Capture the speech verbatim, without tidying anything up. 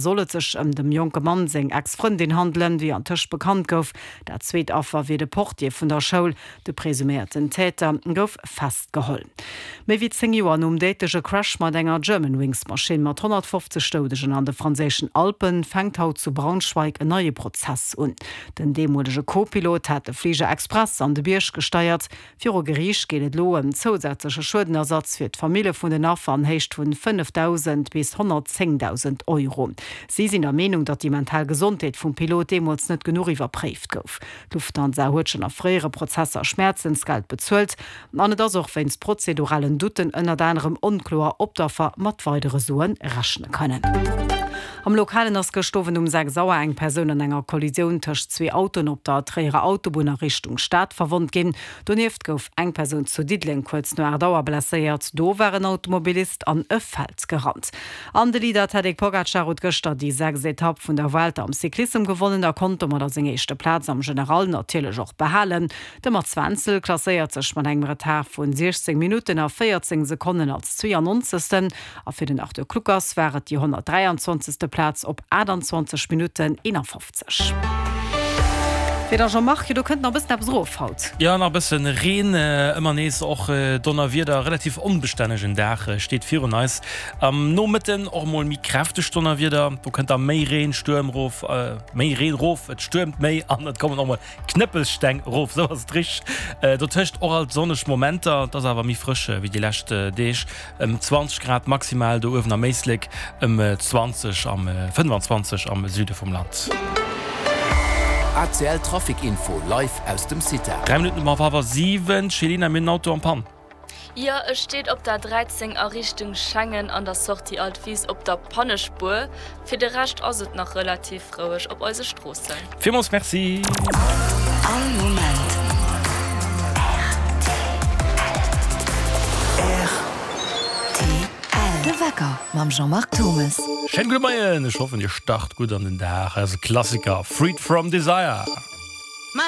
Soll et sech ëm dem jonke Mann seng Ex-Frëndin handelen, wéi antëscht bekannt gouf. Dat zweet Affer wier de Portier vun der Schoul. De presuméierten Täter gouf festgeholl. Méi wéi zéng Joer nom déidleche Crash mat enger Germanwings-Maschinn mat honnertfofzeg Doudegen an de franséischen Alpen fänkt haut zu Braunschweig en neie Prozess un. Den deemolege Co-Pilot hat de Fliger express an de Bierg gesteiert. Viru Geriicht geet et elo ëm zousätzleche Schuedenersatz fir d'Famille vun den Affer an Héicht vun fënnefdausend bis honnertzéngdausend Euro. Si sinn der Meenung, datt déi mental Gesondheet vum Pilot deemools net genuch iwwerpréift gouf. D'Lufthansa huet schonn a fréiere Prozesser Schmäerzensgeld bezuelt an et ass och wéinst prozeduralen Doutten ënnert anerem onkloer, ob d'Affer mat weidere Sue rechne kënnen. Am Lokalen ass gëscht Owend um sechs Auer eng Persoun an enger Kollisioun tëscht zwee Autoen op der Tréierer Autobunn a Richtung Stad verwonnt ginn. Donieft gouf eng Persoun zu Diddeleng kuerz no aacht Auer blesséiert. Do war en Automobilist an e Feld gerannt. An de Leader Tadej Pogacar huet gëschter déi sechst Etapp vun der Vuelta am Cyclissem gewonnen a konnt domadder seng éischte Plaz am General natierlech och behalen. De Mats Wenzel klasséiert sech mat engem Retard vun siechzéng Minutten a véierzéng Sekonnen als zweeannonzegsten a fir den Arthur Kluckers war et déi honnertdräianzwanzegste Plaz op aachtanzwanzeg Minutten eenafofzeg. Fir der Jean-Marc, jo do kënnt nach e bëssen eppes erof haut. Jo, nach e bëssen Reen, ëmmer nees och Donnerwieder. Relativ onbestännegen Dag steet virun eis. Am Nomëtten och mol méi kräfteg Donnerwieder, do kënnt da méi Reen, Stuerm rof, méi Reen rof, et stuermt méi an et kommen och mol Knëppelsteng rof, sou ass et richteg. Dotëscht och alt sonneg Momenter, et ass awer méi frësch wéi déi lescht Deeg, ëm zwanzeg Grad maximal do uewen am Éislek, ëm zwanzeg am fënnefanzwanzeg am Süde vum Land. A C L Trafic Info live aus dem CITA. Dräi Minutten op hallwer siwen, Céline, mir hunn en Auto en panne. Jo, e steet op der dräizéng a Richtung Schengen an der Sortie Altwis op der Pannespuer. Fir de Rescht ass et nach relativ roueg op eise Stroossen. Villmools Merci. All Moment R T L. De Wecker mam Jean-Marc Thomes. Schéinen gudde Moien, ech hoffen dir start gutt an den Dag. Eise Klassiker Freed From Desire.